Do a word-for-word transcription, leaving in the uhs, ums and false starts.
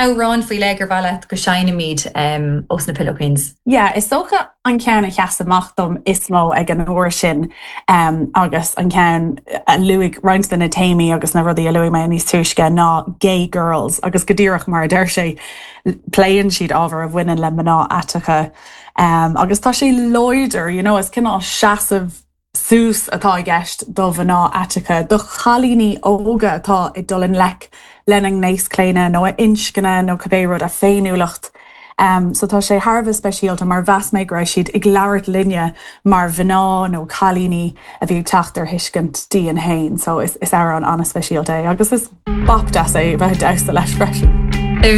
Amhrán faoi leith gur mhaith leat go seinnfimid um, ós na Pillow Queens. Yeah, is dócha an ceann a sheas amach dom is mó ag an uair sin um, agus an ceann a luaigh roinnt de na téamaí agus na rudaí a luaigh mé níos túisce ná gay girls agus go díreach mar a deir sé pléann siad ábhar a bhaineann le mná aiteacha um, agus tá sé láidir you know, is cineál seasamh suas atá i gceist do mhná aiteacha, do chailíní óga atá ag dul i ngleic lena ngnéaschlaonadh nó a inscne nó cibé rud a féiniúlacht. Um, so tá sé thar a bheith speisialta mar mheas mé go raibh siad ag labhairt linne mar mhná nó cailíní a bhí teacht ar thuiscint dóibh féin, so is, is amhrán an-speisialta é agus is bop deas é bheith damhsa leis freisin.